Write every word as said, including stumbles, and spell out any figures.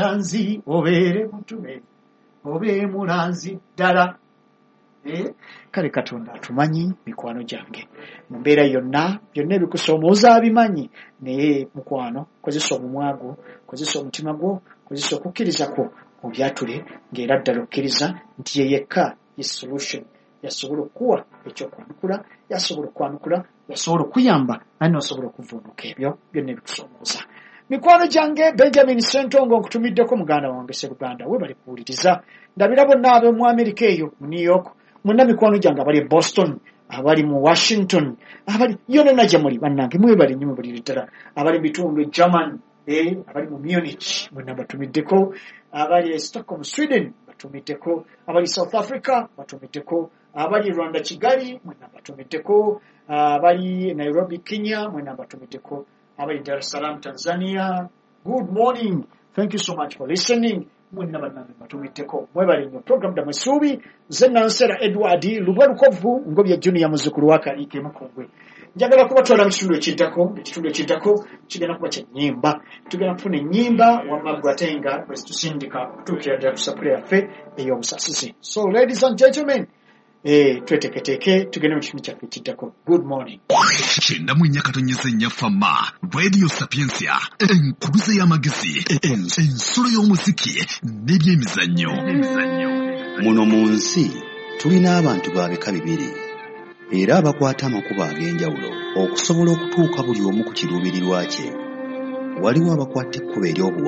Mulanzi, obeere mutume, obe mulanzi ddala. Eh, kale Katonda atumanyi, mikwano gyange, mu mbeera yonna, byonna ebikusoomooza abimanyi. Naye mukwano, kozesa omumwa gwo, kozesa omutima gwo, kozesa okukkiriza kwo, obyatule ng'era ddala okkiriza nti ye yekka ye solution, yasobola okukuwa ekyokwanukula, yasobola okwanukula, yasobola okuyamba, naye nosobola okuvuunuka ebyo byonna ebikusoomooza. Mikwano gyange, Benjamin Sentongo nkutumiddeko, muganda wange Seruganda, webale kuwuliriza. Ndabira bonna ab'omu Amerika eyo mu New York, mwenna mikwano gyange abali e Boston, abali mu Washington, abali yonna gye muli, bannange mwebale nnyo, mwebulire ddala. Abali mu bitundu e German, eh, abali mu Munich, mwenna batumiddeko. Abali e Stockholm, Sweden, batumiddeko. Abali South Africa batumiddeko. Abali Rwanda, Kigali, mwenna batumiddeko. Abali Nairobi, Kenya, mwenna batumiddeko. Abali Dar es Salaam, Tanzania, good morning, thank you so much for listening. Mwenna bannange batumiddeko, mwebale nnyo. Program Ddamu Essuubi, nze Nansera Edward Lubwa Lukovu Ngobya Junior, muzzukulu wa Kaliike Mukungwe. Njagala kubatwala mu kitundu ekiddako. Ekitundu ekiddako kigenda kuba kya nnyimba, tugenda kufuna ennyimba wamma gwe ate nga bwe zitusindika okutuukira ddala ku sapule yaffe ey'obusasizi. So ladies and gentlemen, eh, tweteeketeeke tugende mu kitundu kyaffe ekiddako. Good morning. Kyenda mu nnya katonyeza ennya Fama Radio Sapiensia, enkuluze y'amagezi, ens- ensulo y'omuziki n'ebyemizannyo. Muno mu nsi tulina abantu ba bika bibiri era abakwata amakubo ag'enjawulo okusobola okutuuka buli omu ku kiruubirirwa kye. Waliwo abakwata ekkubo ery'obuwanguzi.